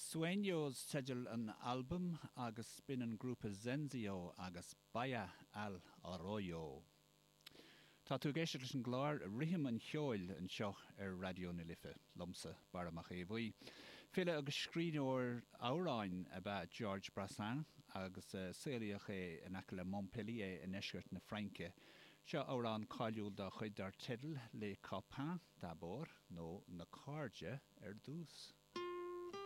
Sueños teideal an albaim agus b'in an grúpa Zenzio agus Baya al Arroyo. Tá tú ag éisteacht leis an gclár Rithim an Cheoil anseo ar Raidió na Life, liomsa, Barra Mac Aodha Bhuí. File agus scríbhneoir amhráin ab ea Georges Brassens agus saolaíodh é in aice le Montpellier i ndeisceart na Fraince. Seo amhrán cáiliúil dá chuid dar teideal Les Copains d'abord nó Na Cairde ar dtús.